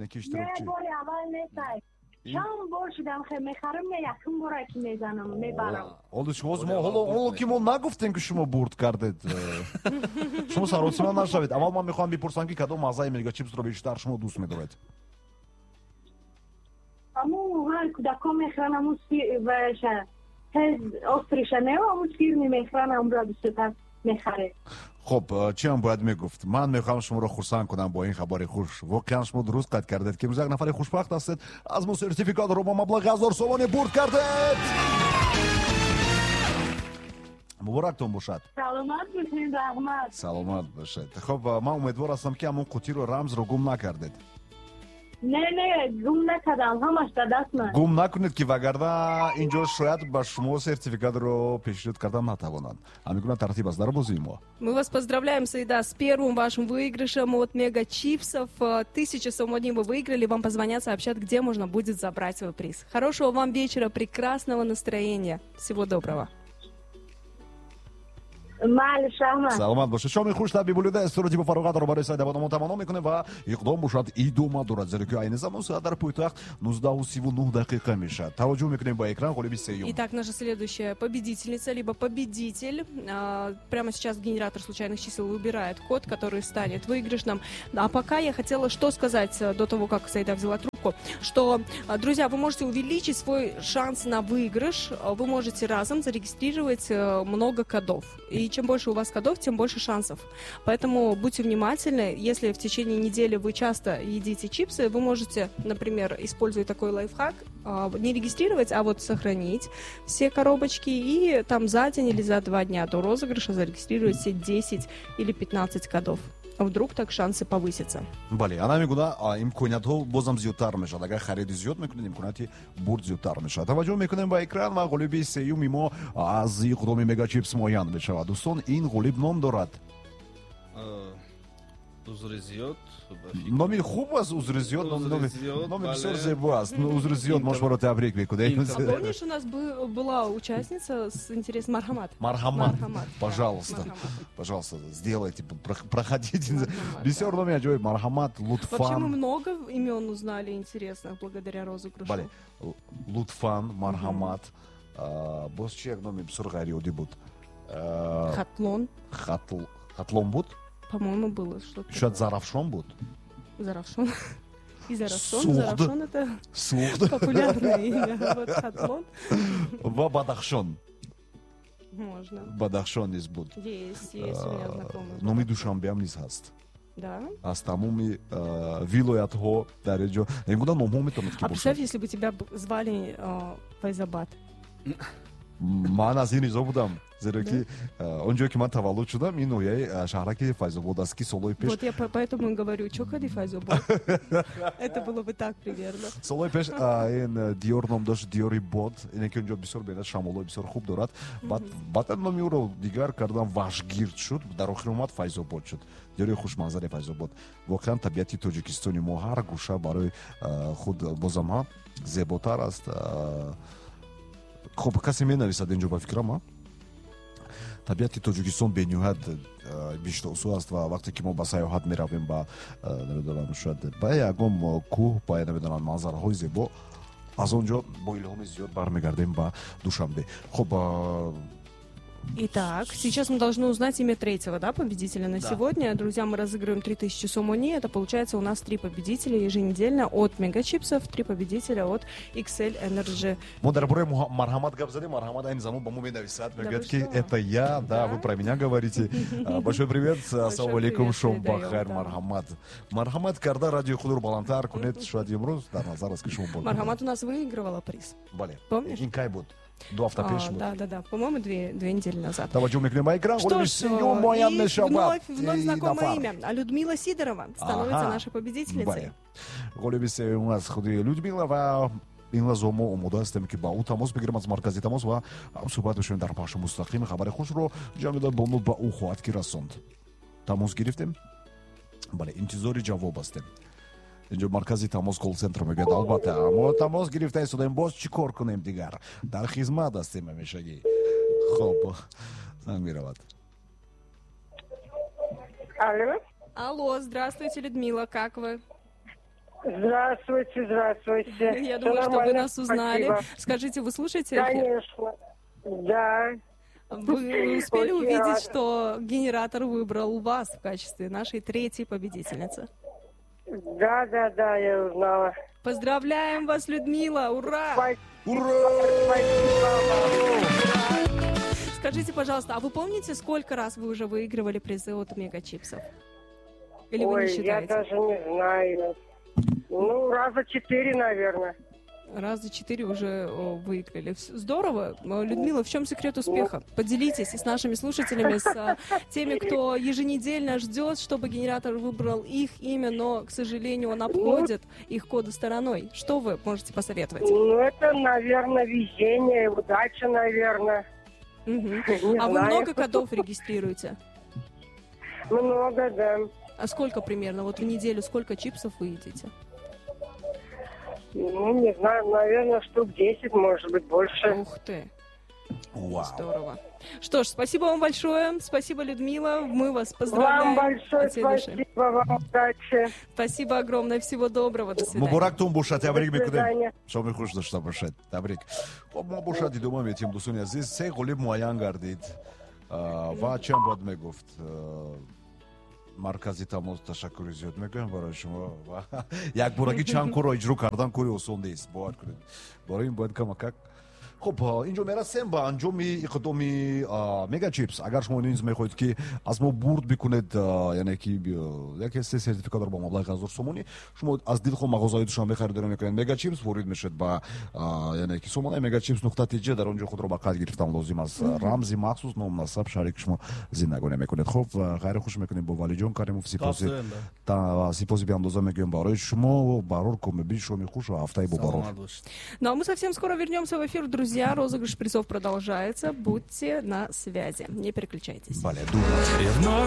Яъне ки иштирокчӣ. Не, бори аввал нестай. Чанд бор шудам, хе мехарам, не, якум бора ки мезанам, мебарам. Ҳоло шумо мо ҳоло ки мо нагуфтем, ки шумо бурд кардед. Шумо саросима нашавед. Аввал ман мехоҳам бипурсам, ки кадом маззаи мегачипсро бештар шумо дӯст медоред? Аму ҳар кӯдакон мехӯранд, аму ваша тез острый ша не, аму сырный мехӯранд, амура бисёртар мехарем. Хуб, чӣ ҳам бояд мегуфт? Ман мехоҳам шуморо хурсанд кунам бо ин хабари хуш. Воқеан шумо дуруст қайд кардед, ки имрӯз як нафари хушбахт ҳастед. Аз мо сертификатро бо маблағи 1000 сомонӣ бурд кардед. Муборактон бошад. Саломат бошед, раҳмат. Саломат бошед. Хуб, ман умедвор ҳастам, ки ҳамон қутиро, рамзро гум накардед. Не, гум накардам, ҳамаш дар дастман. Гум накунед, ки вагарна инҷо шояд ба шумо сертификатро пешниҳод кардан натавонанд. Ҳамин гуна тартиб аст дар бозии мо. Мы вас поздравляем, Саида, с первым вашим выигрышем от Мега Чипсов. 1000 сомони вы выиграли, вам позвонят, сообщат, где можно будет забрать свой приз. Хорошего вам вечера, прекрасного настроения. Всего доброго. Майли, раҳмат. Саломат бошед. Шоми хуш таби булида истироҳати бофароғатро барои Сайдабономон таманно мекунем ва иқдом бошад, идома дорад, зеро ки айни замон соат дар пойтахт 19:39 мешавад. Таваҷҷӯҳ мекунем ба экран, ғолиби сеюм. Итак, наша следующая победительница либо победитель. Прямо сейчас генератор случайных чисел выбирает код, который станет выигрышным. А пока я хотела что сказать до того, как Саида взяла трубку, что, друзья, вы можете увеличить свой шанс на выигрыш. Вы можете разом зарегистрировать много кодов. И чем больше у вас кодов, тем больше шансов. Поэтому будьте внимательны. Если в течение недели вы часто едите чипсы, вы можете, например, используя такой лайфхак, не регистрировать, а вот сохранить все коробочки и там за день или за 2 дня до розыгрыша зарегистрировать все 10 или 15 кодов. А вдруг так шансы повысятся. Бале, ана мегуна имкониятҳо бозам зиёдтар мешавад. Агар хариди зиёд мекунед, имконияти бурд зиёдтар мешавад. Таваҷҷӯҳ мекунем ба экран ва ғолиби сеюми мо аз иқдоми Мегачипс муайян мешавад. Дӯстон, ин ғолиб ном дорад. Узри зиёд. Номи хуб аст, Узри зиёд, номи бисёр зебо аст. Узри зиёд, мо шуморо табрик мекунем. А помнишь, у нас была участница с интересом Мархамат? Мархамат, пожалуйста, пожалуйста, сделайте, проходите. Бисёр номи аҷоиб, Мархамат, Лутфан. Вообще мы много имен узнали интересных благодаря розыгрышу. Бале, Лутфан, Мархамат, боз чи як номи бисёр ғайриоддӣ буд? Хатлон. Хатлон буд? По-моему, было что-то. Шояд Зарафшон буд? Зарафшон. И Зарафшон. Зарафшон — это Суғд. Популярное имя. Вот Хатлон. Ва Бадахшон. Можно. Бадахшон низ буд. Есть, есть у меня знакомый. Номи Душанбеам низ ҳаст. Да. Аз тамоми вилоятҳо дар ин ҷо ин гуна номҳо метавонад ки. А представь, если бы тебя звали Файзабад. Ман аз ин ризо будам, зеро ки он ҷое ки ман таваллуд шудам, ин ноҳияи шаҳраки Файзобод аст, ки солҳои пеш Вот я поэтому и говорю, чё кади Файзобод? Это было бы так примерно. Солҳои пеш ин диёр ном дошт диёри бод, ине ки онҷо бисёр бенад шамолҳои бисёр хуб дорад. Баъдан номи ӯро дигар кардам, Вашгирд шуд, дар охир омад Файзобод шуд. Диёри хушманзари Файзобод. Воқеан, табиати Тоҷикистони мо ҳар гӯша барои худ бозам ҳа зеботар аст. Хуб, касе менависад инҷо, ба фикрам, табиати Тоҷикистон бениҳоят биҳиштосо аст ва вақте ки мо ба сайёҳат меравем, ба намедонам, шояд ба ягон кӯҳ, ба намедонам, манзараҳои зебо, аз он ҷо бо илҳоми зиёд бармегардем ба Душанбе. Хуб. Итак, сейчас мы должны узнать имя третьего, да, победителя на Да. сегодня. Друзья, мы разыгрываем 3000 сомони. Это получается у нас три победителя еженедельно от Мегачипсов, три победителя от XL Energy. Мо дар бораи Марҳамат гап задем. Марҳамат айни замон ба мо менависад, мегӯяд, Вы ки что? Это я, да, Да? вы про меня говорите. Большой привет, ассалому алейкум, Привет шом передаем, бахайр. Да. Марҳамат, марҳамат карда, радиои худро баландтар кунед, шояд имрӯз дар назар аст, ки шумо бурд. Мархамат у нас выигрывала приз. Бале. Помнишь? Ин кай буд? 2 ҳафта пеш буд. Да. По-моему, 2 недели назад. Таваҷҷӯҳ мекунем ба экран. Что Ғолиби ж, сеюм муайян и мешавад. вновь И знакомое нафар. имя. А Людмила Сидорова становится Ага. нашей победительницей. Бале, ғолиби сеюм аз худи Людмила ва ин лаҳза мо омода ҳастем, ки ба ӯ тамос бигирем аз маркази тамос ва ҳамсӯҳбат бишавем дар пахши мустақим. Хабари хушро Ҷамила бону ба ӯ хоҳад ки расонд. Тамос гирифтем, бале, интизори ҷавоб ҳастем. Инҷо маркази тамос, колл-центр мегӯяд: албатта, мо тамос гирифта истодаем, боз чӣ кор кунем дигар, дар хизмат ҳастем ҳамешагӣ. Хоб, занг меравад. Алло. Алло, здравствуйте, Людмила, как вы? Здравствуйте, здравствуйте. Я думаю, что вы нас узнали. Спасибо. Скажите, вы слушаете эфир? Конечно, да. Вы успели Очень увидеть, рада. Что генератор выбрал вас в качестве нашей третьей победительницы? Да, я узнала. Поздравляем вас, Людмила! Ура! Спасибо, Ура! спасибо вам. Скажите, пожалуйста, а вы помните, сколько раз вы уже выигрывали призы от Мегачипсов? Или вы не Ой, я считаете? Даже не знаю. Ну, раза 4, наверное. Раза 4 уже выиграли. Здорово. Людмила, в чем секрет успеха? Поделитесь и с нашими слушателями, с теми, кто еженедельно ждет, чтобы генератор выбрал их имя, но, к сожалению, он обходит их коды стороной. Что вы можете посоветовать? Ну, это, наверное, везение, удача, наверное. Мгм. Не А вы знаю. много кодов регистрируете? Много, да. А сколько примерно? Вот в неделю сколько чипсов вы едите? Ну, не знаю, наверное, штук 10, может быть, больше. Ух ты! Вау! Здорово. Что ж, спасибо вам большое. Спасибо, Людмила. Мы вас поздравляем. Вам большое От всей души. Спасибо, вам удачи. Спасибо огромное. Всего доброго. До свидания. Муборактон бошад, табрик До мекунем. свидания. Шоми хуш дошта бошед, табрик. Хуб, мо бошад идома метиҳем, дӯстони азиз. Се ғолиб муайян гардид. Ва чиам бояд мегуфт, маркази тамос ташаккури зиёд мекунем барои шумо. Ва якборагӣ чанд корро иҷро кардан кори осон нест, бовар кунед, барои ин бояд камакак. Хуб, инҷо мерасем ба анҷоми иқдоми Мегачипс. Агар шумо низ мехоҳед, ки аз мо бурд бикунед, яъне ки яке се сертификатро бо маблағи 1000 сомонӣ, шумо аз дилхоҳ мағозаи Душанбе харидорӣ мекунед Мегачипс, ворид мешавед ба, яъне ки, сомонаи megachipс.tj, дар он ҷо худро ба қайд гирифтан лозим аст, рамзи махсус, ном, насаб, шаҳре ки шумо зиндагонӣ мекунед. Хуб, хайри хуш мекунем бо Валиҷон Каримов. Сипоси Зинда. Сипоси беандоза мегӯем барои шумо. Барор, комёбӣ, шоми хуш ва ҳафтаи бобарор. Саломат бошед. Ну а мы совсем скоро вернемся в эфир, друзья. Розыгрыш призов продолжается. Будьте на связи. Не переключайтесь. Бале, дур. И вновь